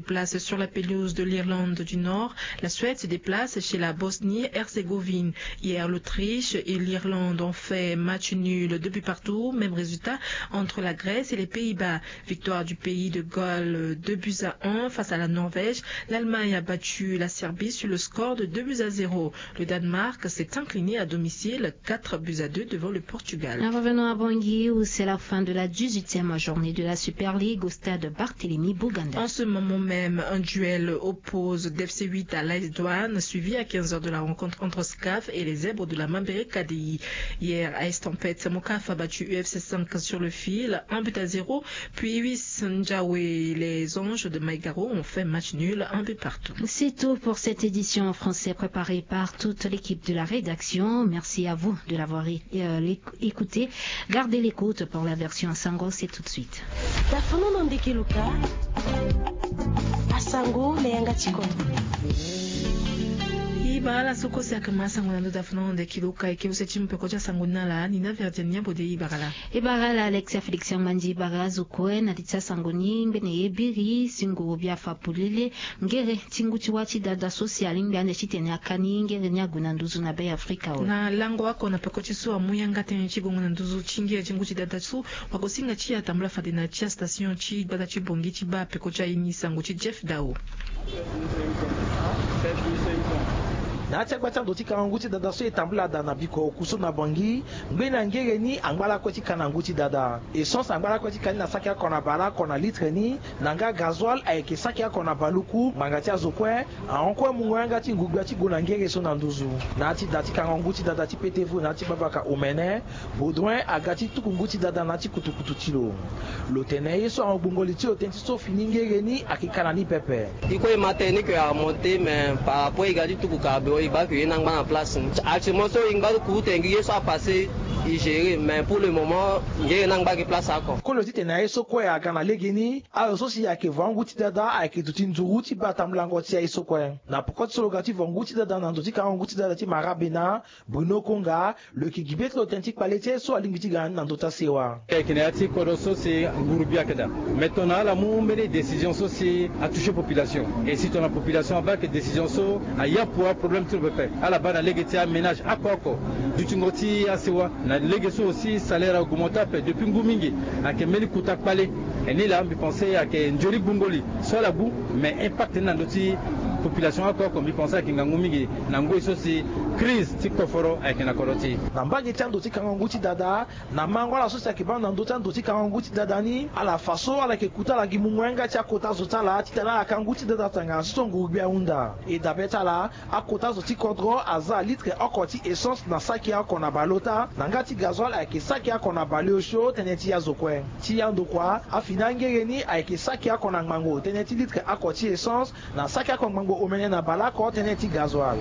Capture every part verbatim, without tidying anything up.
place sur la pelouse de l'Irlande du Nord. La Suède se déplace chez la Bosnie-Herzégovine. Hier, l'Autriche et l'Irlande ont fait match nul, deux buts partout. Même résultat entre la Grèce et les Pays-Bas. Victoire du pays de Galles, deux buts à un face à la Norvège. L'Allemagne a battu la Serbie sur le score de deux buts à zéro. Le Danemark s'est incliné à domicile, quatre buts à deux devant le Portugal. Nous revenons à Bangui, où c'est la fin de la dix-huitième journée de la Super League au stade Barthélemy Boganda. En ce moment même, un duel oppose D F C huit à l'A S Douane, suivi à quinze heures de la rencontre entre S C A F et les Zèbres de la Mambéré K D I. Hier, A S Tempête Mokaf a battu U F C cinq sur le fil, un but à zéro. Puis U S Ndjawe, les Anges de Maïgaro ont fait match nul, un but partout. C'est tout pour cette édition en français préparée par toute l'équipe de la rédaction. Merci à vous de l'avoir é-, euh, éc-, écouté. Gardez l'écoute pour la version Sango, c'est tout de suite. Tafono na ndeke luka. Asango na yanga ti kodro. Ibara la so kue si ayeke ma sango na ndo tafono na ndeke luka, e ke use ti mu peko ti asango ni na ala ni na Verdiane Niabo de. Ibara la. Ibara la Alexia Félix Amandi. Ibara azo kue na li ti asango ni ngbene ye biri si nguru bia fa polele. Ngere ti ngu ti wâ ti dada so si alingbi ande titene aka ni ngere ni ague na nduzu na Be Afrika awe. Na lango oko na peko ti so amu yanga tënë ti gongo na nduzu ti ngere ti ngu ti dada so, wagosinga ti e atambula fade na ti astation ti gbata ti Bangui ti baa peko ti aye ni sango ti Jeff Dao. Na ya ti agba ti ando ti kangangu ti dada so e tambula daa na biko oku so na Bangui, ngbeni angere ni angba lakue ti ka na ngu ti dada. Essence angba lakue ti ka ni na saki oko na bale oko na litre ni, na nga gasoil ayeke saki oko na baluku ngbanga ti azo kue. Ahon kue mungo yanga ti ngu gbia ti gue na ngere so na nduzu. Na ya ti da ti kangangu ti dada ti P T V na ya ti babaka omene, Baudouin aga ti tuku ngu ti dada na ya ti kutukutu ti lo. Lo tene ye so ahon gbongo li ti lo tënë ti so fini ngere ni ayeke ka na ni pepe. E kue e ma tënë ni que a monté, mais par rapport e ga ti tuku carburant e baa que ye ni angba na place ni. Actuellement so e ngba ti kuru tene gi ye so apassé e gérer, mais pour le moment ngere ni angba gi place oko. Kolo titene aye so kue aga na legeni, azo so si ayeke vo angu ti dada ayeke duti nzuru ti baa tambulango ti aye so kue. Na poko ti so lo ga ti vo ngu ti dada na ndo ti kangangu ti dada ti Marabena, Bruno Konga, lo yeke gi be ti lo tënë ti kpale ti aye so alingbi ti ga na ni na ndö ti asewa. Ayeke na ya ti kodro so si nguru bia ayeke daa. Mais tongana ala mu mbeni décision so si atouché population, et si tongana population abaa ayeke décision so ayapu aproblème ti lo pepe, ala baa na lege ti aménage oko oko dutingo ti asewa. Na lege so aussi salaire a augmenté ape depuis ngu mingi. Ayeke mbeni kota kpale. E ni laa mbi pensé ayeke nzoni gbungo li so ala gu, mais impact ni na ndö ti population oko oko mbi pensé ayeke ngangu mingi na ngoi so si crise ti koforo ayeke na kodro ti e. Na mbage ti ando ti kangangu ti dada, na mango ala so si ayeke baa na ndö ti ando ti kangangu ti dada ni, ala fa so ala yeke kuta ala gi mungo yanga ti akota zo ti ala titene ala ka ngu ti dada tongana so so nguru gbia ahunda. E dabe ti ala, akota zo ti kodro aza litre oko ti essence na saki oko na baleota, na nga ti gasoil ayeke saki oko na baleosio tënë ti azo kue. Ti andokua, afini angere ni ayeke saki oko na ngbangbo tënë ti litre oko ti essence, na saki oko ngbangbo omene na baleoko tënë ti gasoil.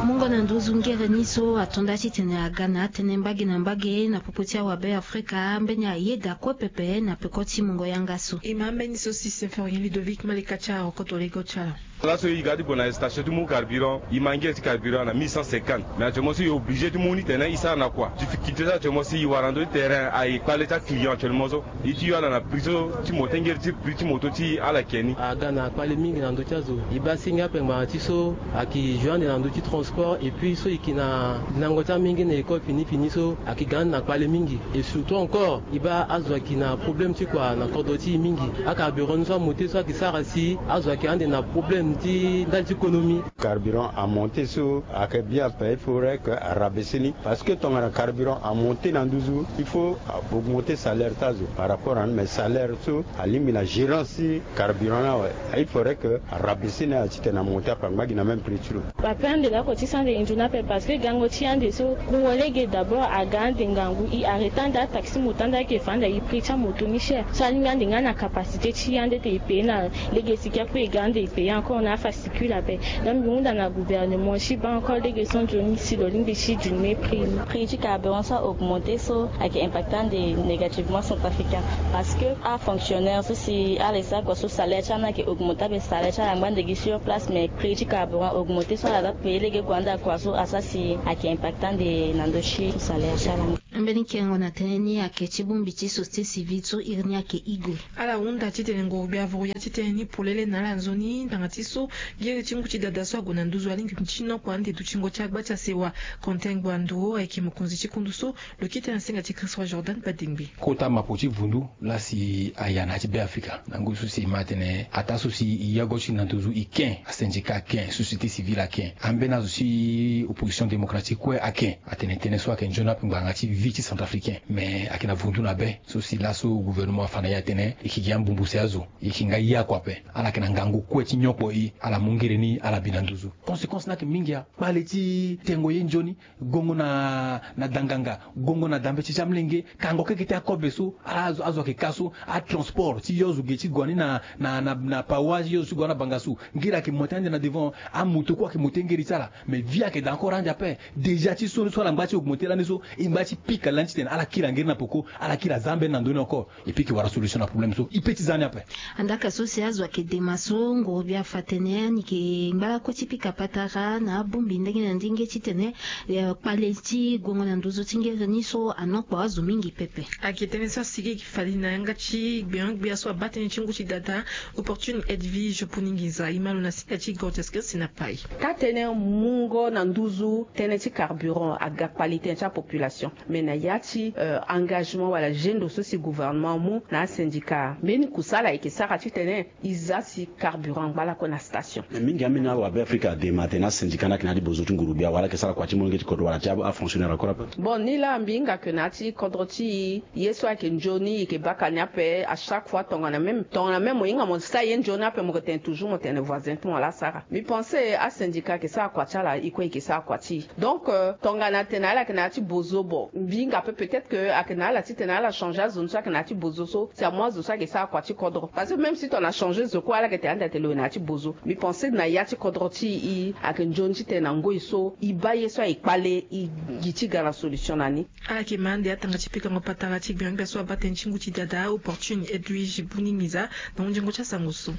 Mungo na nduzu ngere ni so ato nda titene aga na atënë mbage na mbage na popo ti awabe Afrika, mbeni ayeda kue pepe na peko ti mungo yanga so. E ma mbeni so si Symphorien Ludovic Malika ti arokoto lego ti ala. Laso e ga ti gue na station ti mu carburant, e ma ngere ti carburant na mille cent cinquante. Mais actuellement so e obligé ti mu ni tene e sara na kua. Difficulté so actuellement so e wara na ndö ti terrain aye kpale ti aclient actuellement so. E ti yo ala na prix so ti moto, ngere ti prix ti moto ti ala yeke ni. Aga na kpale mingi na ndö ti azo. E baa singa ape ngbanga ti so ayeke joue ande na ndö ti transport et puis so e yeke na linango ti amenge na école fini fini so ayeke ga ande na kpale mingi. Et surtout encore e baa azo ayeke na problème ti kua na kodro ti e mingi. Acarburant ni so amonté so ayeke sara si azo ayeke ande na problème ti ndali ti économie. Carburant amonté so ayeke bien ape, il faudrait que arabaisser ni. Parce que tongana carburant amonté na nduzu, il faut augmenter salaire ti azo par rapport à, mais salaire so alingbi na gérance ti carburant ni awe. Il faudrait que arabaisser ni awe titene amonté ape angba gi na même prix ti lo. Ape ande lakue ti so ande e nzoni ape parce que gango ti ande so wungo lege d'abord aga ande ngangu, e arrêté ande ataxi moto ande ayeke fa ande aye prix ti amoto ni cher. So alingbi ande nga na capacité ti e ande te e payer na lege siki ape e ga ande e payer encore na afascicule ape. Donc mbi hunda na gouvernement ti baa encore lege so nzoni si lo lingbi ti diminuer prix ni. Prix ti carburant so a augmenté so ayeke impacté ande négativement centrafricain. Parce que afonctionnaire so si ala e sara kua so salaire ti ala ni ayeke augmenté ape, salaire ti ala angba ande gi sur place, mais prix ti carburant augmenté so ala za payer lege gue ande akua so asara si ayeke impacté ande na ndö ti salaire ti ala ni. Mbeni kengo na tënë ni ayeke ti bongbi ti société civile so iri ni ayeke igo. Ala hunda titene nguru gbia vuru ya ti tënë ni polele na ala nzoni ndanga ti so gere ti ngu ti dada so ague na nduzu alingbi ti nokua ande dutingo ti agba ti asewa. Quentin Gbanduro ayeke mokonzi ti kundu so lo kete na senga ti Christ Roi Jordan Badengbe. Kota mapo ti vundu laa si aya na ya ti Beafrika na ngu so si e ma atene ataa so si e yago ti na nduzu e ken, asyndicat aken, société civile aken, ambeni azo ti opposition démocratique kue aken. Atene tënë so ayeke nzoni ape ngbanga ti vie ti centrafricain. Mais ayeke na vundu na be so si laso gouvernement afa na e atene e yeke gi ambumbu si azo, e yeke nga ye oko ape. Ala yeke na ngangu kue ti nyokpo e, ala mu ngere ni ala bi na nduzu. Conséquence ni ayeke mingi. Akpale ti tengo ye nzoni, gongo na na danganga, gongo na dambe ti ti amlenge, kango keke ti akobe so ala azo azo ayeke ka so, atransport ti yo zo ge ti gue ni na na na na pawa ti yo zo ti gue na banga so. Ngeri ayeke monte ande na devant, amoto kue ayeke monte ngeri ti ala. Mais vie ayeke daa encore ande ape. Déjà ti so ni so ala ngba ti augmenter lani so, e ngba ti pika lani titene ala kiri angeri na peko, ala kiri aza ambeni na ndö ni encore. E piki wara solution na problème so e pe ti za ni ape. Andaka so si azo ayeke dema so nguru gbia afa atene ani yeke ngba lakue ti pika patara na abongbi ndenge na ndenge titene kpale ti gongo na nduzu ti ngere ni so anokpo azo mingi pepe. Ayeke tënë so asigi gi fali na yanga ti gbenyo-gbia so abaa tënë ti ngu ti dada Opportune Edwige Bouninginza, e ma lo na singa ti Gorges Christine Apayi. Taa-tënë mungo na nduzu tënë ti carburant aga kpale tënë ti apopulation. Mais na ya ti engagement wala gendo so si gouvernement amu na asyndicat, mbeni kusala ayeke sara titene e za si carburant angba lakue na station. Mais mingi ambeni awabe afrika adema atene asyndicat ni ayeke na ya ti bozo ti nguru gbia wala ayeke sara kua ti molenge ti kodro wala ti afonctionnaire encore ape. Bon, ni laa mbi hinga ke na ya ti kodro ti e, ye so ayeke nzoni e yeke baka ni ape. À chaque fois tongana même tongana même mo hinga mo sara ye nzoni ape mo yeke tene toujours mo tene voisin ti mo laa asara. Mbi pense asyndicat ayeke sara kua ti ala, e kue e yeke sara kua ti e. Donc tongana atene ala yeke na ya ti bozo, bon, mbi hinga ape peut-être ke ayeke na ala titene ala changer azo ni so ayeke na ya ti bozo so si amu azo so ayeke sara kua ti kodro. Parce que même si tongana changer zo kue ala yeke tene ande atene lo yeke na ya ti bozo. Mbi pense na ya ti kodro ti e ayeke nzoni titene na ngoi so e baa ye so ayeke kpale e gi ti ga na solution na ni. Ala yeke ma ande atanga ti pikango patara ti gbenyo-gbia so abaa tënë ti ngu ti dada Opportune Edwige Bouninginza na hunzingo ti asango so.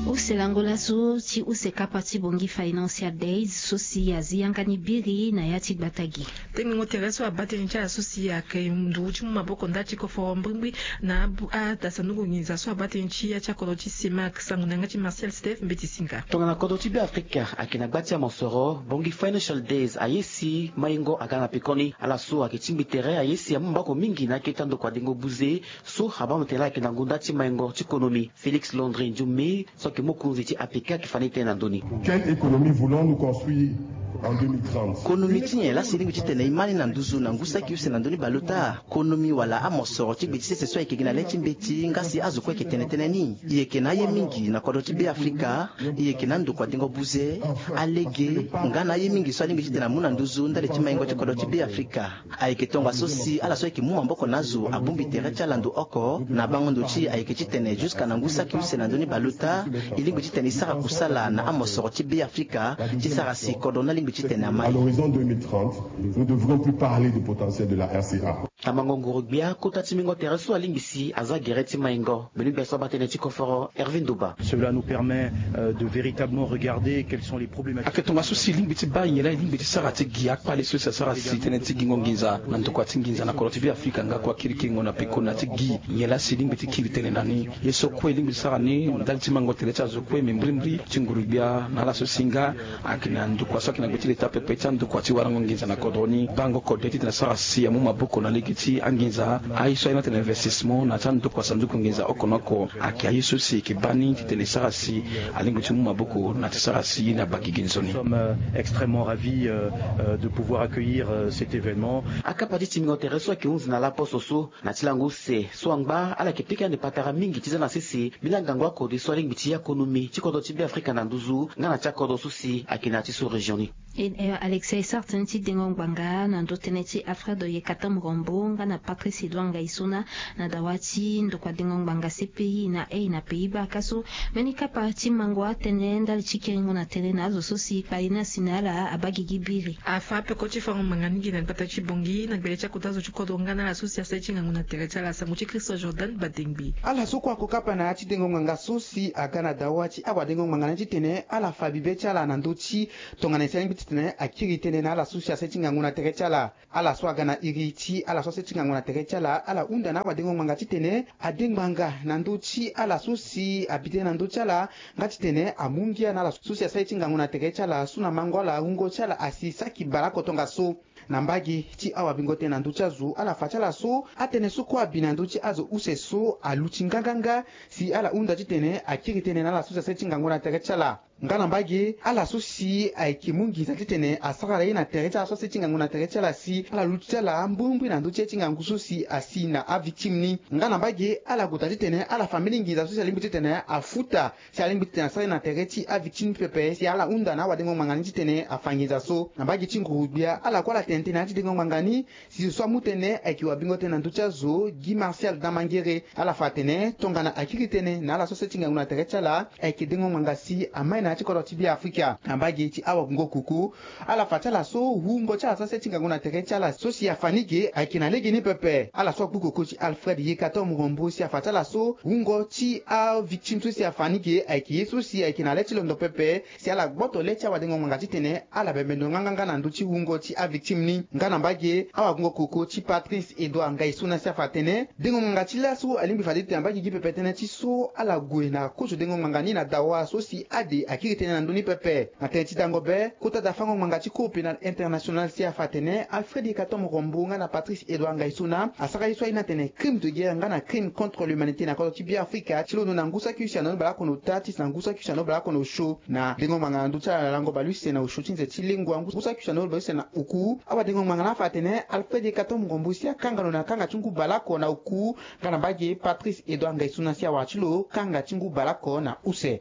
Use lango laso ti use kapa ti Bangui Financial Days so si azi yanga ni biri na ya ti gbata gi. Tengengo tere so abaa tënë ti ala so si ayeke nduru ti mu maboko ndali ti koforo mbrimbri na abu adasanduku nginza so abaa tënë ti ya ti akodro ti CEMAC. Sango na yanga ti Martial Steph Mbeti Singa. Tongana kodro ti Beafrika ayeke na gba ti amosoro, Bangui Financial Days aye si maingo aga na pekoni. Ala so ayeke tingbi tere aye si amu maboko mingi na akete ti andokua dengo buze so abaa mo tene laa ayeke na ngonda ti maingo ti konomi. Félix Landry Ndioume so ayeke mokonzi ti APK ayeke fa ni tënë na ndö ni. Quelle économie voulons-nous construire en deux mille trente? Konomi ti nyen laa si e lingbi titene e ma ni na nduzu na ngu saki use na ndö ni baleota? Konomi wala amosoro ti gbe ti sese so ayeke gi na le ti mbeti nga si azo kue ayeke tene tënë ni. E yeke na aye mingi na kodro ti Beafrika. E yeke na andokua dengo buze, alege nga na aye mingi so alingbi titene amu na nduzu ndali ti maingo ti kodro ti Beafrika. Ayeke tongaso si ala so ayeke mu maboko na azo abongbi tere ti ala ndo oko. Na bango ndo ti e ayeke titene jusqu'à na ngu saki use na ndö ni baleota, e lingbi titene e sara kusala na amosoro ti Beafrika ti sara si kodro ni alingbi titene ama e. À l'horizon deux mille trente, nous ne devrons plus parler du potentiel de la R C A. Tamango nguru-gbia kota ti mingo tere so alingbi si aza gere ti maingo. Mbeni gbia so abaa tënë ti koforo Hervé Ndoba. Cela nous permet, euh, de véritablement regarder quelles sont les problématiques. Ayeke tongaso si e lingbi ti baa nyen laa e lingbi ti sara ti gi akpale so si asara si tënë ti gingo nginza na ndokua ti nginza na kodro ti Beafrika nga kua kirikiringo na peko na ya ti gi nyen laa si e lingbi ti kiri tënë na ni. Ye so kue e lingbi ti sara ni ndali ti mango tere ti azo kue me mbrimbri ti nguru-gbia na ala so si nga ayeke na ndokua so ayeke na gbe ti leta pepe ti andokua ti warango nginza na kodro ni. Bango kode titene asara si amu maboko na lege ti anginza. Aye so aye ni atene investissement na ya ti andokua sanduku nginza oko na oko. Ayeke aye so si e yeke baa ni titene e sara si alingbi ti mu maboko na ya ti sara si ye ni abaa gigi nzoni. Nous sommes, euh, extrêmement ravis, euh, euh, de pouvoir accueillir, euh, cet événement. Akapa ti timbingo tere so ayeke hunzi na laposo so na ti lango use so angba ala yeke pika ande patara mingi ti za na sese mbeni angangu akode so alingbi ti ya konomi ti kodro ti Beafrika na nduzu nga na ti akodro so si ayeke na ya ti sous-région ni. E, e, Alexia e sara tënë ti dengo ngbanga na ndö tënë ti Alfred Oyekatam Rambo nga na Patrice Edouard Ngaïssona na dawa ti ndokua dengo ngbanga C P I na e na Pays-Bas ka so mbeni kapa ti mango atënë ndali ti kiringo na tënë na azo so si kpale ni asi na ala abaa gigi biri. Afa peko ti fango ngbanga ni gi na gbata ti Bangui na gbele ti akota zo ti kodro nga na ala so si asara ti ngangu na tere ti ala. Sango ti Christ Jordan Badengbi. Ala so kue ako kapa na ya ti dengo ngbanga so si aga na dawa ti awadengo ngbanga ni titene ala fa bibe ti ala na ndö ti tongana e si alingbi ti titene akiri tënë na ala so si asara ti ngangu na tere ti ala. Ala so aga na iri ti ala so asara ti ngangu na tere ti ala, ala hunda na awadengo ngbanga titene ade ngbanga na ndö ti ala so si abi tënë na ndö ti ala, nga titene amu ngia na ala so si asara ti ngangu na tere ti ala so na mango ala wungo ti ala asi saki baleoko tongaso. Na mbage ti awabingo tënë na ndö ti azo, ala fa ti ala so atënë so kue abi na ndö ti azo use so aluti nganganga, si ala hunda titene akiri tënë na ala so si asara ti ngangu na tere ti ala. Nga na mbage ala so si ayeke mu nginza titene asara ye na tere ti ala so asara ti ngangu na tere ti ala si ala luti ti ala mbrimbri na ndö ti ye ti ngangu so si asi na avictime ni. Nga na mbage ala kota titene ala fa mbeni nginza so si alingbi titene afuta si alingbi titene asara ye na tere ti avictime ni pepe, si ala hunda na awadengo ngbanga ni titene afa nginza so. Na mbage ti nguru-gbia, ala kue ala tene tënë na ya ti dengo ngbanga ni, si zo so amu tënë ayeke wabingo tënë na ndö ti azo, Guy Martial Damangere. Ala fa atene tongana akiri tënë na ala so asara ti ngangu na tere ti ala, ayeke dengo ngbanga si amai na ya ti kodro ti Beafrika. Na mbage ti awagungo koko, ala fa ti ala so wungo ti ala so asara ti ngangu na tere ti ala so si afa ni ge ayeke na lege ni pepe. Ala so akpu koko ti Alfred Yekatom Rombo si afa ti ala so wungo ti avictime so si afa ni ge ayeke ye so si ayeke na le ti londo pepe, si ala gboto le ti awadengo ngbanga titene ala bembe ndo nganganga na ndö ti wungo ti avictime ni. Nga na mbage awagungo koko ti Patrice Edouard Ngaisona si afa atene dengo ngbanga ti laso alingbi fade titene abaa gigi pepe tënë ti so ala gue na kozo dengo ngbanga ni na dawa so si ade akiri tënë na ndö ni pepe. Na tënë ti dango be, kota dafango ngbanga ti Cour pénale internationale si afa atene Alfred Yekatom Rombo nga na Patrice Edouard Ngaisona asara ye so aye ni atene crime de guerre nga na crime contre l'humanité na kodro ti Beafrika, ti londo na ngu saki use na lo baleoko na ota ti si na ngu saki use na lo baleoko na osio. Na dengo ngbanga na ndö ti ala na lango baleuse na osio ti nze ti lengua ngu saki use na lo baleuse na oku, awadengo ngbanga ni afa atene Alfred Yekatom Rombo si akanga lo na kanga ti ngu baleoko na oku, nga na mbage Patrice Edouard Ngaisona si awara ti lo kanga ti ngu baleoko na use.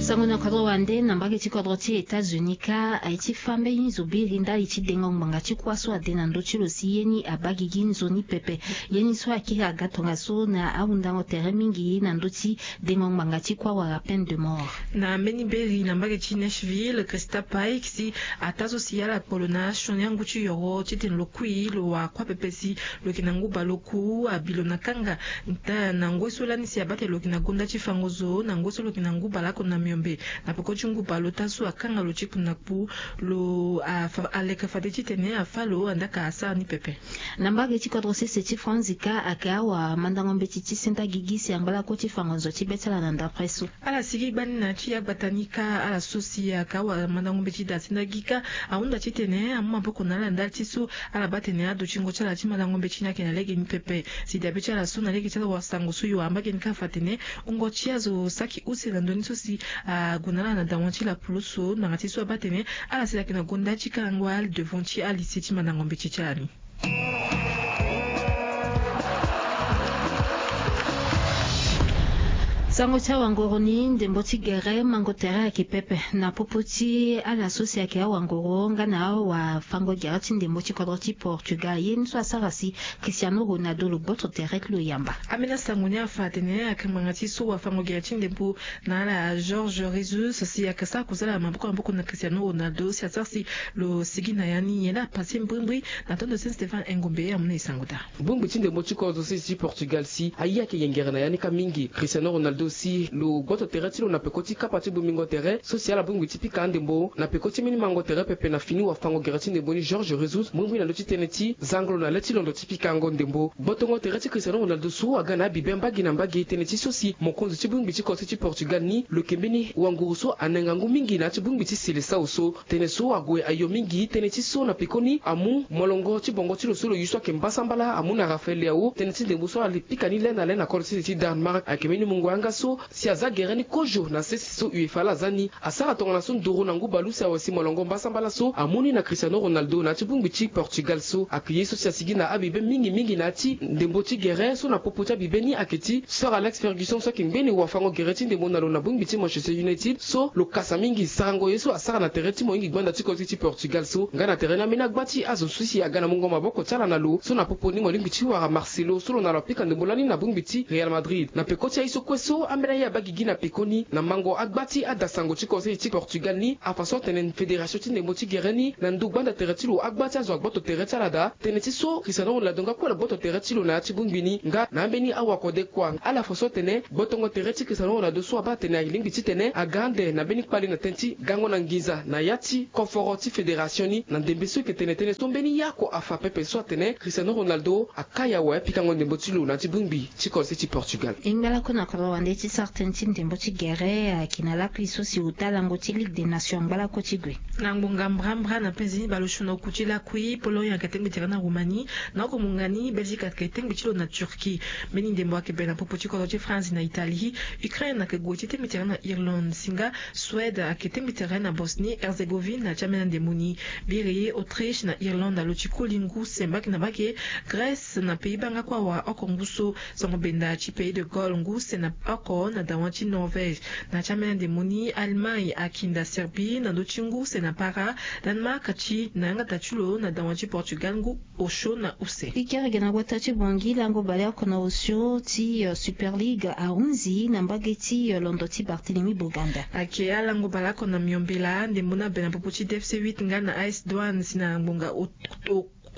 Sango na kodro wande na mbage ti kodro ti États-Unis kâ, aye ti fâ mbeni zo biri ndali ti dengo ngbanga ti kuâ so ade na ndö ti lo si ye ni abaa gigi nzoni pepe. Ye ni so akiri aga tongaso na ahundango tere mingi na ndö ti dengo ngbanga ti kuâ wala peine de mort. Na mbeni beri na mbage ti Nashville, Christa Pike si ataa so si ala kpo lo na asioni angu ti yoro titene lo kui lo wara kuâ pepe si lo yeke na ngu baleoku abi lo na kanga. Nta na ngoi so lani si abaa tene lo yeke na gonda ti fango zo, na ngoi so lo yeke na ngu baleoko na miombe. Na peko ti ngu baleota so akanga lo ti kpu na kpu, lo afa aleke fade titene afâ lo andaa ka asara ni pepe. Na mbage ti kodro sese ti Franzi kâ, ayeke awamandango mbeti ti senda gigi si angba lakue ti fango nzo ti be ti ala na ndapre so. Ala sigi gbani na ya ti agbata ni kâ, ala so si ayeke awamandango mbeti daa senda gigi kâ, ahunda titene amu maboko na ala ndali ti so ala baa tene adutingo ti ala ti mandango mbeti ni ayeke na lege ni pepe. Si dabe ti ala so na lege ti ala wasango so yo ambage ni kâ afa atene wungo ti azo saki use na ndö ni so si ague na ala na dawa ti lapulusu, ngbanga ti so abaa tene ala si ayeke na gonda ti karango ali devant ti alycée ti mandango mbeti ti ala ni. Sango ti awangoro ni, ndembo ti gere mango tere ayeke pepe na popo ti ala so si ayeke awangoro nga na awafango gere ti ndembo ti kodro ti Portugal, ye ni so asara si Cristiano Ronaldo lo gboto tere ti lo yamba. Ambeni asango ni afa atene ayeke ngbanga ti so wafango gere ti ndembo na ala Jorge Jesus si ayeke sara kozala maboko na maboko na Cristiano Ronaldo si asara si lo sigi na ya ni, nyen laa apasse mbrimbri? Na tonde Saint Stéphane Engombe amu na e sango daa. Bongbi ti ndembo ti kodro sese ti Portugal si aye ayeke yengere na ya ni kâ mingi. Cristiano Ronaldo si lo gboto tere ti lo na peko ti kapa ti bongbingo tere so si ala bongbi ti pika andembo na peko ti mbeni mango tere pepe na fini wafango gere ti ndembo ni Jorge Jesus, mbrimbri na ndö ti tënë ti zango lo na le ti londo ti pikango ndembo. Gbotongo tere ti Cristiano Ronaldo so aga na abibe mbage na mbage, tënë ti so si mokonzi ti bongbi ti kodro ti Portugal ni lo yeke mbeni wanguru so anenga ngu mingi na ya ti bongbi ti Seleção so. Tënë so ague ayo mingi, tënë ti so na pekoni amu molongo ti bongo ti lo so lo yu so ayeke mbasambala amu na Rafael Leao. Tënë ti ndembo so ala pika ni le na le na kodro ti sese ti Danemark ayeke mbeni mungo yanga so si aza gere ni kozo na sese so UEFA laa aza ni. Asara tongana so nduru na ngu baleuse awe si molongo mbasambala so amu ni na Cristiano Ronaldo na ya ti bongbi ti Portugal so. Ayeke ye so si asigi na abibe mingi mingi na ya ti ndembo ti gere so na popo ti abibe ni ayeke ti Sir Alex Ferguson so ayeke ngbeni wafango gere ti ndembo na lo na bongbi ti Manchester United so lo kasa mingi sarango ye so asara na tere ti mohingi gbanda ti kodro ti Portugal so. Nga na tere ni ambeni agba ti azo so si aga na mungo maboko ti ala na lo so na popo ni mo lingbi ti wara Marcelo so lo na lo apika ndembo lani na bongbi ti Real Madrid. Na peko ti aye so kue so Ambeni aye abaa gigi na pekoni na mango agba ti adasango ti konsei ti Portugal ni afa so atene federation ti ndembo ti gere ni na ndu gbanda tere ti lo agba ti azo agboto tere ti ala daa tene ti so Cristiano Ronaldo nga kue na gboto tere ti lo na ya ti bongbi ni nga na ambeni awakode kua. Ala fa so atene gbotongo tere ti Cristiano Ronaldo so abaa atene alingbi titene aga ande na mbeni kpale na tënë ti gango na nginza na ya ti koforo ti federation ni na ndembe so eke tene tënë so mbeni ye oko afa pepe so atene Cristiano Ronaldo akaya awe pikango ndembo ti lo na ya ti bongbi ti konsei ti Portugal. E ngba lakue na kodro wande ti sara tënë ti ndembo ti gere ayeke na lakui so si ota lango ti Ligue des Nations angba lakue ti gue. Na ngbonga mbrambra na penzi ni bale osio na oku ti lakui Pologne ayeke tengbi tere na Roumanie na oko munga ni Belgique ayeke tengbi ti lo na Turquie. Mbeni ndembo ayeke bere na popo ti kodro ti France na Italie. Ukraine ayeke gue ti tengbi tere na Irlande si nga Suède ayeke tengbi tere na Bosnie Herzégovine na ti ambeni andembo ni. Biri Autriche na Irlande alo ti koli ngu se mbage na mbage. Grèce na Pays-Bas nga kue awa oko ngu so. Sango benda ti Pays de Galles ngu se na oko na dawa ti Norvège. Na ti ambeni andembo ni Allemagne akinda Serbie na ndö ti ngu se na para. Danemark ti na yanga daa ti lo na dawa ti Portugal ngu osio na use. Ikerege na gbata ti Bangui lango baleoko na osio ti Super League ahunzi na mbage ti londo ti Barthélemy Boganda. Ayeke alango baleoko na miombela ndembo ni abe na popo ti D F C huit nga na A S Douanes si na ngbonga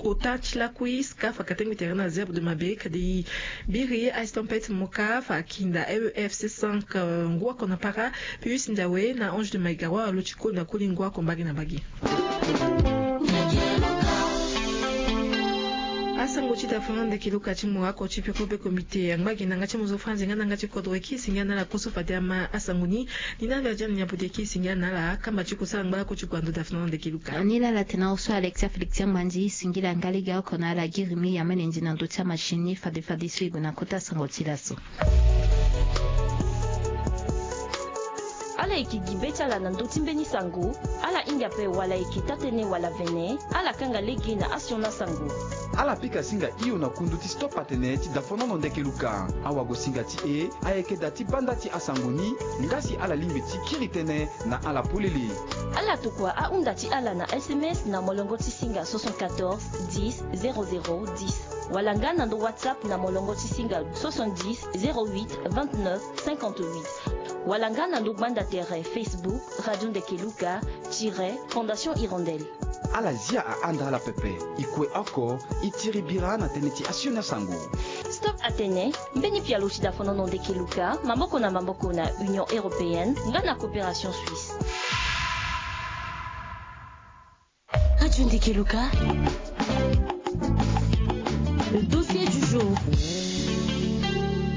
ota ti lakui SCAF ayeke tengbi tere na Zèbre de Mabé kadi biri A S Tempête Moka afa akinda E E F C cinq ngu oko na para. Pius Ndiawe na Ange de Maïgawa alo ti koli na koli ngu oko mbage na mbage. Asango ti dafono ndeke luka ti mo oko ti peko be komite angba gi na yanga ti mozo franzi nga na yanga ti kodro eki singia na ala koso fade ama asango ni. Ni na via diani ni apo ti eki singia na ala kamba ti kosala angba lako ti kua ndo dafono ndeke luka. Ni laa ala tene na oso Alexia Félix ti angba ndi singila nga lege oko na ala girimi ya mene ndi na ndo ti amachine ni fade fade so e gue na kota sango ti laso. Ala yeke gi be ti ala na ndö ti mbeni sango. Ala hinga ape wala e yeke taa-tënë wala vene. Ala kanga lege na asioni asango. Ala pika singa hio na kundu ti stop atene ti dafonono ndeke luka. Awagosinga ti e ayeke daa ti banda ti asango ni. Nga si ala lingbi ti kiri tënë na ala polele. Ala tokua ahunda ti ala na S M S na molongo ti singa soixante-quatorze dix zéro zéro dix wala nga na ndo WhatsApp na molongo ti singa soixante-dix zéro huit vingt-neuf cinquante-huit wala nga na ndo gbanda tere Facebook Radio Ndeke Luka tiret Fondation Hirondelle. Ala zia ahanda ala pepe. E kue oko e tiri bira na tënë ti asioni asango. Stop atene mbeni pialo ti dafonono ndeke luka maboko na maboko na Union Européenne nga na Coopération Suisse. Radio Ndeke Luka. Le dossier du jour.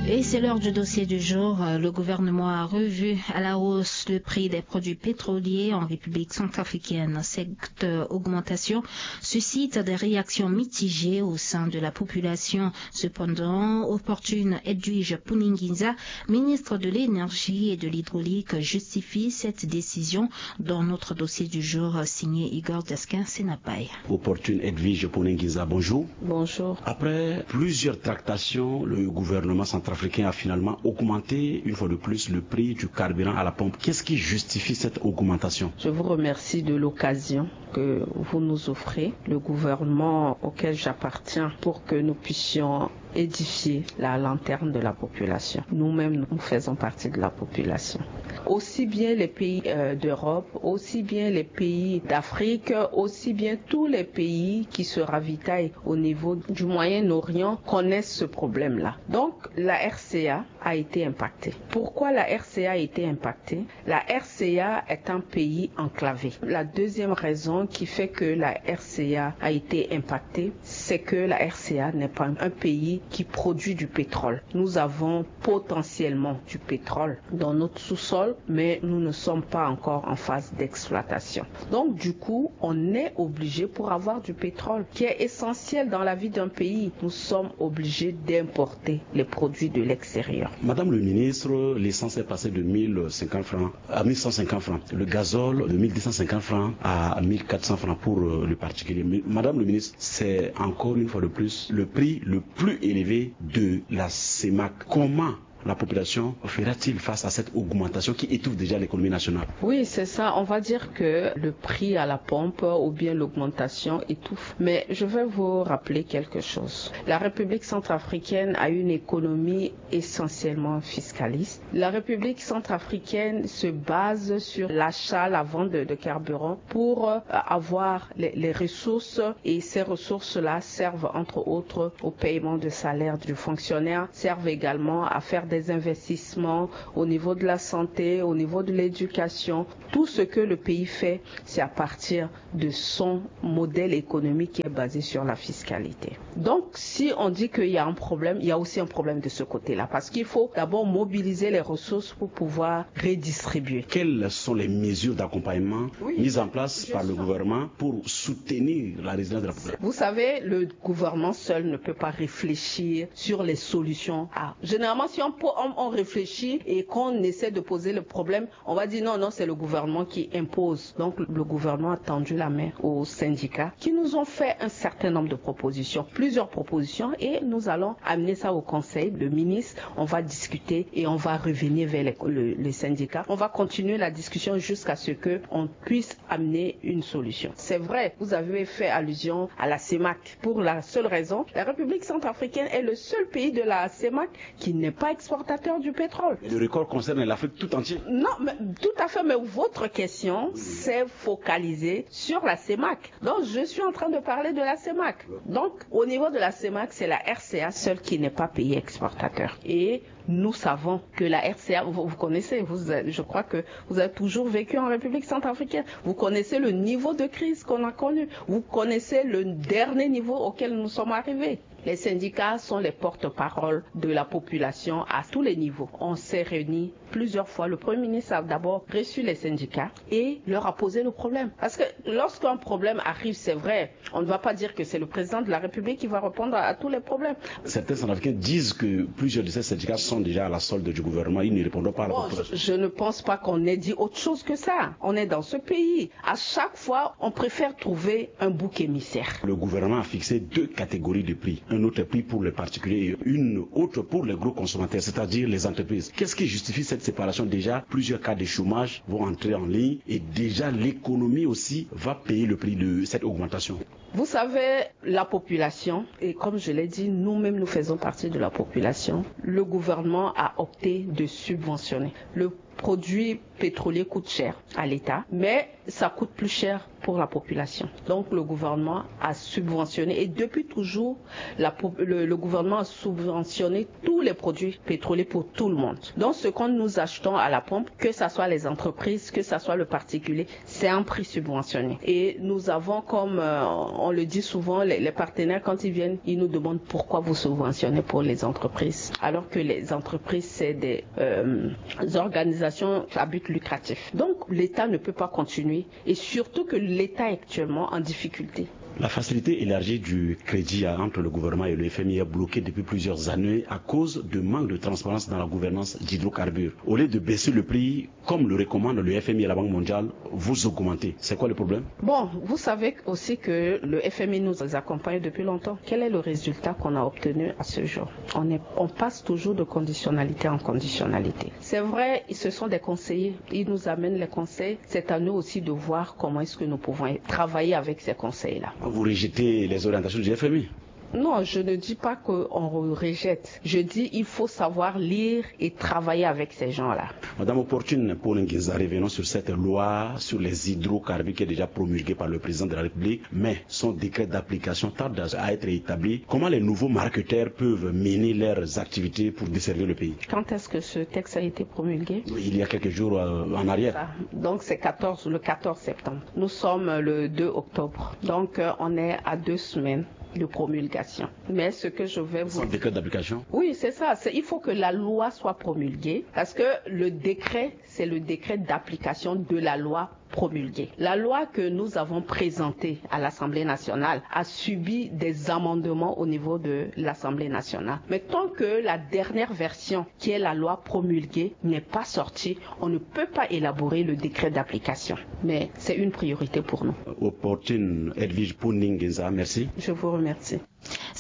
Et c'est l'heure du dossier du jour. Le gouvernement a revu à la hausse le prix des produits pétroliers en République centrafricaine. Cette augmentation suscite des réactions mitigées au sein de la population. Cependant, Opportune Edwige Puninginza, ministre de l'Énergie et de l'Hydraulique, justifie cette décision. Dans notre dossier du jour, signé Igor Diaskin Senapai. Opportune Edwige Puninginza, bonjour. Bonjour. Après plusieurs tractations, le gouvernement centrafricain a finalement augmenté une fois de plus le prix du carburant à la pompe. Qu'est-ce qui justifie cette augmentation ? Je vous remercie de l'occasion que vous nous offrez, le gouvernement auquel j'appartiens, pour que nous puissions édifier la lanterne de la population. Nous-mêmes, nous faisons partie de la population. Aussi bien les pays, euh, d'Europe, aussi bien les pays d'Afrique, aussi bien tous les pays qui se ravitaillent au niveau du Moyen-Orient connaissent ce problème-là. Donc, la R C A a été impactée. Pourquoi la R C A a été impactée ? La R C A est un pays enclavé. La deuxième raison qui fait que la R C A a été impactée, c'est que la R C A n'est pas un pays qui produit du pétrole. Nous avons potentiellement du pétrole dans notre sous-sol, mais nous ne sommes pas encore en phase d'exploitation. Donc, du coup, on est obligé, pour avoir du pétrole, qui est essentiel dans la vie d'un pays, nous sommes obligés d'importer les produits de l'extérieur. Madame le ministre, l'essence est passée de mille cinquante francs à mille cent cinquante francs. Le gazole de mille deux cent cinquante francs à mille quatre cents francs pour, euh, le particulier. Mais, Madame le ministre, c'est encore une fois de plus le prix le plus élevé de la CEMAC. Comment La population fera-t-il face à cette augmentation qui étouffe déjà l'économie nationale ? Oui, c'est ça. On va dire que le prix à la pompe ou bien l'augmentation étouffe. Mais je vais vous rappeler quelque chose. La République centrafricaine a une économie essentiellement fiscaliste. La République centrafricaine se base sur l'achat, la vente de, de carburant pour euh, avoir les, les ressources, et ces ressources-là servent entre autres au paiement de salaire du fonctionnaire, servent également à faire des investissements au niveau de la santé, au niveau de l'éducation. Tout ce que le pays fait, c'est à partir de son modèle économique qui est basé sur la fiscalité. Donc, si on dit qu'il y a un problème, il y a aussi un problème de ce côté-là, parce qu'il faut d'abord mobiliser les ressources pour pouvoir redistribuer. Quelles sont les mesures d'accompagnement mises en place par le gouvernement pour soutenir la résilience de la population ? Vous savez, le gouvernement seul ne peut pas réfléchir sur les solutions. Ah, généralement, si on, on, on réfléchit et qu'on essaie de poser le problème, on va dire non, non, c'est le gouvernement qui impose. Donc, le gouvernement a tendu la main aux syndicats qui nous ont fait un certain nombre de propositions, plusieurs propositions, et nous allons amener ça au conseil. Le ministre, on va discuter et on va revenir vers les, le, les syndicats. On va continuer la discussion jusqu'à ce que on puisse amener une solution. C'est vrai, vous avez fait allusion à la CEMAC. Pour la seule raison, la République centrafricaine est le seul pays de la CEMAC qui n'est pas exportateur du pétrole. Et le record concerne l'Afrique tout entière. Non, mais, tout à fait, mais votre question s'est focalisée sur la CEMAC. Donc, je suis en train de parler de la CEMAC. Donc, au niveau de la CEMAC, c'est la RCA seule qui n'est pas pays exportateur. Et nous savons que la RCA, vous, vous connaissez, vous, je crois que vous avez toujours vécu en République centrafricaine. Vous connaissez le niveau de crise qu'on a connu. Vous connaissez le dernier niveau auquel nous sommes arrivés. Les syndicats sont les porte-parole de la population à tous les niveaux. On s'est réunis plusieurs fois. Le Premier ministre a d'abord reçu les syndicats et leur a posé le problème. Parce que lorsqu'un problème arrive, c'est vrai, on ne va pas dire que c'est le président de la République qui va répondre à, à tous les problèmes. Certains Centrafricains disent que plusieurs de ces syndicats sont déjà à la solde du gouvernement. Ils ne répondront pas à la population. Bon, je, je ne pense pas qu'on ait dit autre chose que ça. On est dans ce pays. À chaque fois, on préfère trouver un bouc émissaire. Le gouvernement a fixé deux catégories de prix. Un autre prix pour les particuliers et une autre pour les gros consommateurs, c'est-à-dire les entreprises. Qu'est-ce qui justifie cette séparation ? Déjà, plusieurs cas de chômage vont entrer en ligne et déjà l'économie aussi va payer le prix de cette augmentation. Vous savez, la population, et comme je l'ai dit, nous-mêmes, nous faisons partie de la population. Le gouvernement a opté de subventionner. Le produit pétrolier coûte cher à l'État, mais ça coûte plus cher pour la population. Donc le gouvernement a subventionné, et depuis toujours, la, le, le gouvernement a subventionné tous les produits pétroliers pour tout le monde. Donc ce que nous achetons à la pompe, que ce soit les entreprises, que ce soit le particulier, c'est un prix subventionné. Et nous avons, comme euh, on le dit souvent, les, les partenaires, quand ils viennent, ils nous demandent pourquoi vous subventionnez pour les entreprises, alors que les entreprises, c'est des euh, organisations à but lucratif. Donc l'État ne peut pas continuer, et surtout que l'État est actuellement en difficulté. La facilité élargie du crédit entre le gouvernement et le F M I est bloquée depuis plusieurs années à cause de manque de transparence dans la gouvernance d'hydrocarbures. Au lieu de baisser le prix, comme le recommande le F M I et la Banque mondiale, vous augmentez. C'est quoi le problème ? Bon, vous savez aussi que le F M I nous accompagne depuis longtemps. Quel est le résultat qu'on a obtenu à ce jour ? On, est, on passe toujours de conditionnalité en conditionnalité. C'est vrai, ce sont des conseillers. Ils nous amènent les conseils. C'est à nous aussi de voir comment est-ce que nous pouvons travailler avec ces conseils-là. Vous rejetez les orientations du F M I ? Non, je ne dis pas qu'on rejette. Je dis il faut savoir lire et travailler avec ces gens-là. Madame Opportune Paul Nginza, revenons sur cette loi sur les hydrocarbures qui est déjà promulguée par le président de la République, mais son décret d'application tarde à être établi. Comment les nouveaux marketeurs peuvent mener leurs activités pour desservir le pays ? Quand est-ce que ce texte a été promulgué ? Il y a quelques jours euh, en arrière. Ah, donc c'est quatorze, le quatorze septembre. Nous sommes le deux octobre. Donc euh, on est à deux semaines de promulgation. Mais ce que je vais vous... Sans décret d'application ? Oui, c'est ça. Il faut que la loi soit promulguée parce que le décret, c'est le décret d'application de la loi promulguée. La loi que nous avons présentée à l'Assemblée nationale a subi des amendements au niveau de l'Assemblée nationale. Mais tant que la dernière version, qui est la loi promulguée, n'est pas sortie, on ne peut pas élaborer le décret d'application. Mais c'est une priorité pour nous. Opportune Edwige Poningenza, merci. Je vous remercie.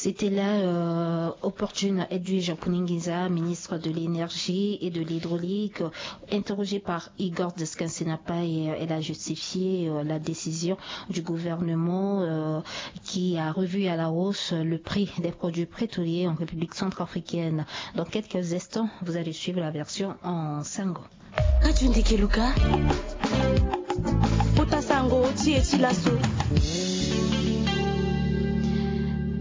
C'était là euh, Opportune Edwige Puninginza, ministre de l'Énergie et de l'Hydraulique, interrogée par Igor Descansinapa et euh, elle a justifié euh, la décision du gouvernement euh, qui a revu à la hausse le prix des produits pétroliers en République centrafricaine. Dans quelques instants, vous allez suivre la version en sango. Kati ndiki luka. Kota sango ti e ti laso.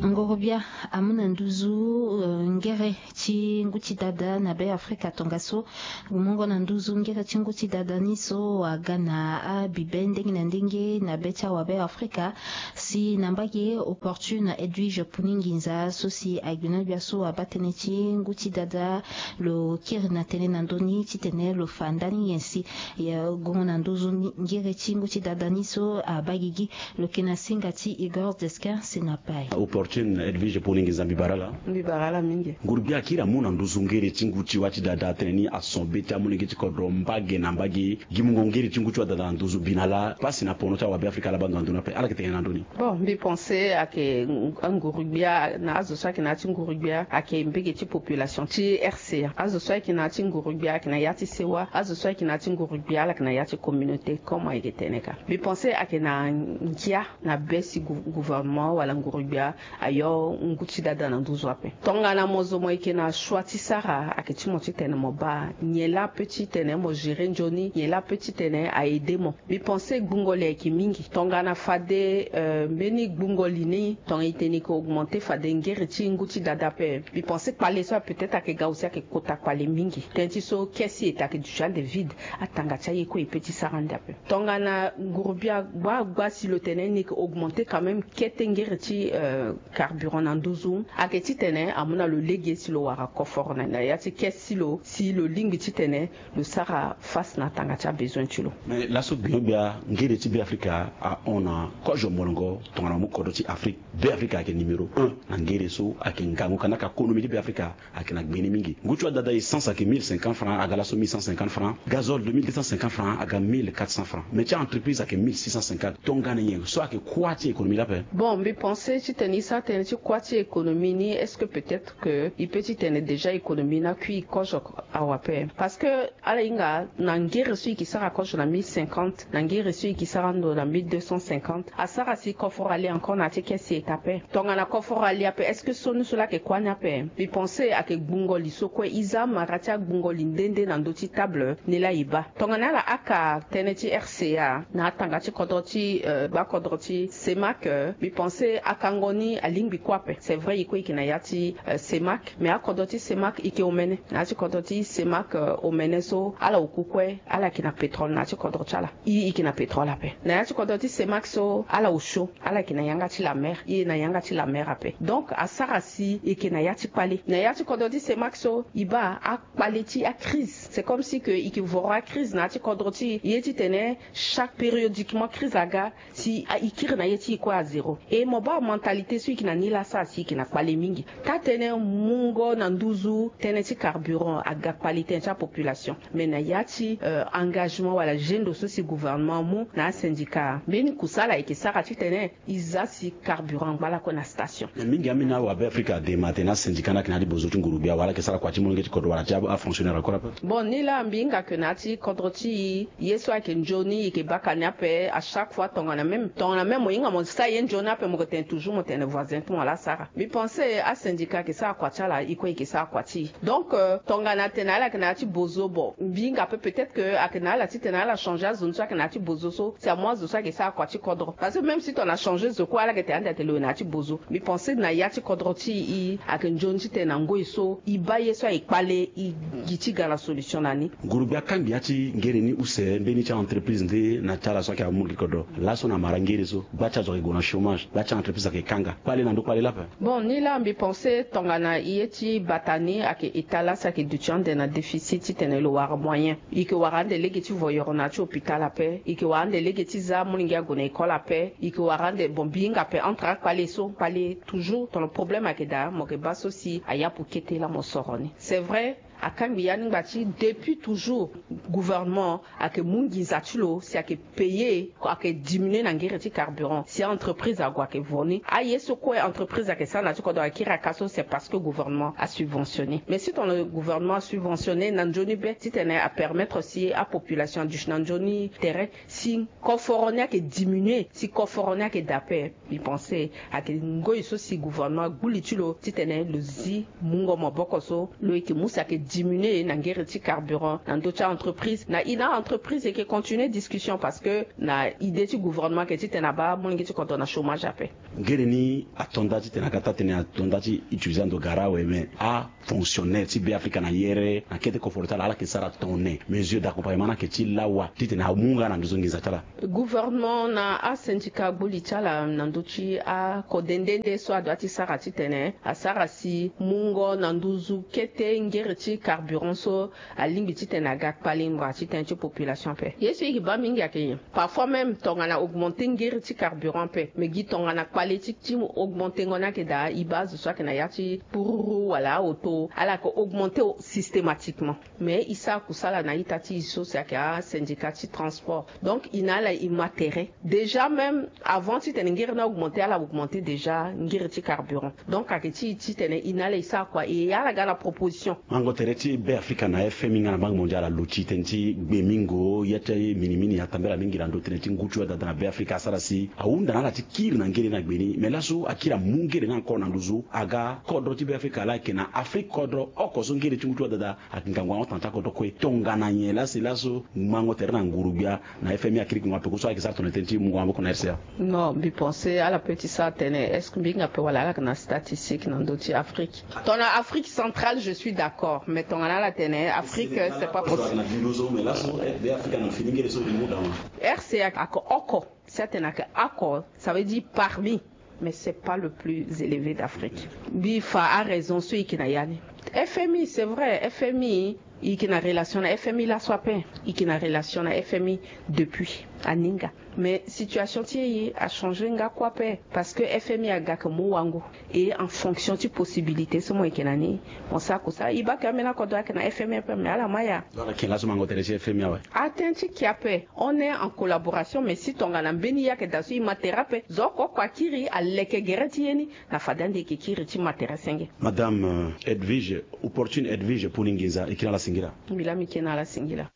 Ngorobia amu na nduzu euh, ngere ti ngu ti dada na Be Afrika tongaso. Mungo na nduzu ngere ti ngu ti dada ni so aga na abibe ndenge na ndenge na be ti awa Be Afrika. Si na mbage Opportune Edwige Puninginza so si agbina gbia so abaa tënë ti ngu ti dada, lo kiri na tënë na ndö ni titene lo fa ndani nyen si gongo na nduzu ngere ti ngu ti dada ni so abaa gigi. Lo yeke na singa ti Igor Descansinapa. Opportune Edwige Puninginza, mbi bara ala. Mbi bara ala mingi. Ngurubia akiri amu na nduzu ngere ti ngu ti wa ti dada atene ni ason be ti amu lege ti kodro mbage na mbage. Gi mungo ngere ti ngu ti wa dada na nduzu bi na la pasi na pono ti awa Be Afrika ala baa ndo na ndö ni ape, ala yeke tene na ndö ni? Bon, mbi pense ayeke anguru-gbia na azo so ayeke na ya ti nguru-gbia ayeke mbege ti population ti R C A. Azo so ayeke na ya ti nguru-gbia ayeke na ya ti sewa. Azo so ayeke na ya ti nguru-gbia ala yeke na ya ti communauté comme ayeke tene ka. Mbi pense ayeke na ngia na be si gouvernement wala nguru-gbia ayo ngu ti dada na nduzu ape. Tongana mo zo mo yeke na choix ti sara ayeke ti mo titene mo baa nyen laa ape titene mo gérer nzoni, nyen laa ape titene a aider mo. Mbi pense gbungo li ayeke mingi. Tongana fade euh, mbeni gbungo li ni tongana e tene e yeke augmenter fade ngere ti ngu ti dada ape, mbi pense kpale so ape peut-être ayeke ga aussi ayeke kota kpale mingi. Tënë ti so caisse ti ete ayeke duti ande vide. Atanga ti aye kue e peut ti sara ande ape. Tongana nguru-gbia gba gba si lo tene ni e yeke augmenter quand même kete ngere ti euh, carburant na nduzu, ayeke titene amu na lo lege si lo wara koforo na ya ti caisse ti lo si lo lingbi titene lo sara face na tanga ti abesoin ti lo. Mais laso gbingo-gbia ngere ti Be Afrika ahon na kozo molongo tongana mu kodro ti Afrique. Be Afrika ayeke numéro un na ngere so ayeke ngangu kanda ka konomi ti Be Afrika ayeke na gbe ni mingi. Ngu ti wa dada essence ayeke mille cinquante francs, aga laso mille cent cinquante francs. Gazole de mille deux cent cinquante francs aga mille quatre cents francs. Mais ti a-entreprise ayeke mille six cent cinquante. Tongana nyen so ayeke kuâ ti économie la ape? Bon, mbi pense titene e sara tënë ti kuâ ti économie ni, est-ce que peut-être que e peut titene déjà économie ni akui kozo awa ape? Parce que ala hinga na ngere so e yeke sara kozo na mille cinquante, na ngere so e yeke sara ndo na mille deux cent cinquante, asara si koforo ali encore na ya ti caisse ti ete ape. Tongana koforo ali ape, est-ce que sioni so laa ayeke kuâ ni ape? Mbi pense ayeke gbungo li so kue. E za amara ti agbungo li nde nde na ndö ti table ni laa e baa. Tongana ala haka tënë ti R C A na atanga ti kodro ti euh, gbakodro ti CEMAC, euh, mbi pense hakango ni alingbi kue ape. C'est vrai e kue e yeke na ya ti euh, CEMAC, mais akodro ti CEMAC e yeke omene. Na ya ti kodro ti CEMAC euh, omene so ala oku kue ala yeke na pétrole na ya ti kodro ti ala. E, e yeke na pétrole ape. Na ya ti kodro ti CEMAC so ala osio, ala yeke na yanga ti la mer. E na yanga ti la mer ape. Donc asara si e yeke na ya ti kpale. Na ya ti kodro ti CEMAC so e baa akpale ti acrise. C'est comme si que e yeke voro acrise na ya ti kodro ti e, ye titene chaque périodiquement crise aga, si e kiri na ye ti e kue à zéro. Et mo baa mentalité so e yeke na ni laa asara si e yeke na kpale mingi. Taa-tënë mungo na nduzu tënë ti carburant aga kpale tënë ti apopulation. Mais na ya ti euh, engagement wala gendo so si gouvernement amu na asyndicat, mbeni kusala e yeke sara titene e za si carburant angba lakue na station. Mais mingi ambeni awabe afrika adema atene asyndicat ni ayeke na ya ti bozo ti nguru-gbia wala ayeke sara kua ti molenge ti kodro wala ti afonctionnaire encore ape? Bon, ni laa mbi hinga ke na ya ti kodro ti e, ye so ayeke nzoni e yeke baka ni ape. À chaque fois tongana même, tongana même mo hinga mo sara ye nzoni ape, mo yeke tene toujours mo tene voisin ti mo laa asara. Mbi pense asyndicat ayeke sara kua ti ala, e kue e yeke sara kua ti e. Donc euh, tongana atene ala yeke na ya ti bozo, bon, mbi hinga ape peut-être que ayeke na ala titene ala changer azo ni so ayeke na ya ti bozo so, si amu azo so ayeke sara kua ti kodro. Parce que même si tongana changer zo kue, ala yeke tene ande atene lo yeke na ya ti bozo. Mbi pense na ya ti kodro ti e ayeke nzoni titene na ngoi so e baa ye so ayeke kpale, e gi ti ga na solution na ni. Ngurugbi akangbi ya ti ngere ni use mbeni ti a-entreprise nde na ti ala so ayeke amu gi kodro. Laso na mara ngere so, gba ti azo ayeke gue na chômage, gba ti a-entreprise ayeke kanga. Kpale na ndo kpale lape. Bon, ni laa mbi pense tongana ye ti bata ni ayeke État laa si ayeke duti ande na déficit titene lo wara moyen. E yeke wara ande lege ti voyoro na ya ti hôpital ape. E yeke wara ande lege ti za amolenge ague na école ape. E yeke wara ande, bon, mbi hinga ape entre akpale so, kpale toujours, tongana problème ayeke daa, mo yeke baa so si ayapu kete laa mo soro ni. C'est vrai, Akangbi ya ni ngba ti depuis toujours gouvernement ayeke mu nginza ti lo si ayeke payer, ayeke diminuer na ngere ti carburant si a-entreprise ague ayeke vo ni. Aye so kue entreprise ayeke sara na ti kodro akiri aka so, c'est parce que gouvernement asubventionner. Mais si tongana gouvernement asubventionner na nzoni be titene apermettre si apopulation aduti na nzoni tere, si koforo ni ayeke diminuer, si koforo ni ayeke daa ape, mbi pense ayeke ngoi so si gouvernement agbu li ti lo titene lo zi mungo maboko so lo yeke mu si ayeke diminuer na ngere ti carburant na ndö ti a-entreprise. Na i na a-entreprise e yeke continuer discussion parce que na idée ti gouvernement ayeke titene abaa molenge ti kodro na chômage ape. Ngere ni ato nda titene aga taa tënë ato nda ti utiliser ando gara awe, mais a fonctionnaire ti Beafrika na yere na kete koforo ti ala, ala yeke sara tongana mesure d'accompagnement ni ayeke ti lawa titene amu nga na ndö so nginza ti ala. Gouvernement na asyndicat agbu li ti ala na ndö ti akode nde nde so adua ti sara titene asara si mungo na nduzu kete ngere ti carburant so alingbi titene aga kpale ngbanga ti tënë ti population ape. Ye so e yeke baa mingi ayeke nyen? Parfois même tongana augmenter ngere ti carburant ape, mais gi tongana kpale ti ti augmentengo ni ayeke daa, e baa azo so ayeke na ya ti pururu wala aoto, ala yeke augmenter systématiquement. Mais e sara kusala na ita ti e so si ayeke asyndicat ti transport. Donc e na ala e ma tere. Déjà même avant titene ngere ni augmenter, ala augmenter déjà ngere ti carburant. Donc ayeke ti e titene e na ala e sara kua, e ala ga na proposition. Mango tere ti Beafrika na F M I nga na Banque Mondiale aluti tënë ti gbemingo ya ti minimini atambela mingi na ndo tënë ti ngu ti wadada na Beafrika asara si ahunda na ala ti kiri na ngere ni na gbe ni. Mais laso akiri amu ngere ni encore na nduzu aga kodro ti Beafrika laa ayeke na Afrique kodro oko so ngere ti ngu ti wadada ayeke ngangu ahon tanga ti akodro kue. Tongana nyen laa si laso mango tere na nguru-gbia na F M I akiri gingo ape ko so ayeke sara tongana tënë ti mungo maboko na R C A? Non, mbi pense ala peut ti sara tënë, est-ce que mbi hinga ape wala ala yeke na statistique na ndö ti Afrique? Tongana Afrique centrale je suis d'accord, mais tongana ala tene Afrique c'est pas possible. Na ndö so mais laso Beafrika na fini ngere so mbi mu daa. R C A ayeke oko, si atene ayeke oko, ça veut dire parmi, mais c'est pas le plus élevé d'Afrique. Mbi fa araison so e yeke na ya ni. F M I, c'est vrai, F M I, e yeke na relation na F M I laso ape. E yeke na relation na F M I depuis aninga. Mais situation ti e achanger nga kue ape, parce que F M I aga ayeke mu wango. Et en fonction ti possibilité so mo yeke na ni, mo sara kusala. E baa ayeke ambeni akodro ayeke na F M I ape, mais ala ma ya. Ala yeke laso mango tere ti F M I awe. Atënë ti ke ape, on est en collaboration, mais si tongana mbeni ye ayeke daa so e ma tere ape, zo oko oko akiri aleke gere ti ye ni, na fade ande e yeke kiri ti ma tere senge. Madame, euh, Edwige, opportune Edwige Puni Nginza, e kiri na ala singila. Mbi laa mbi kiri na ala singila.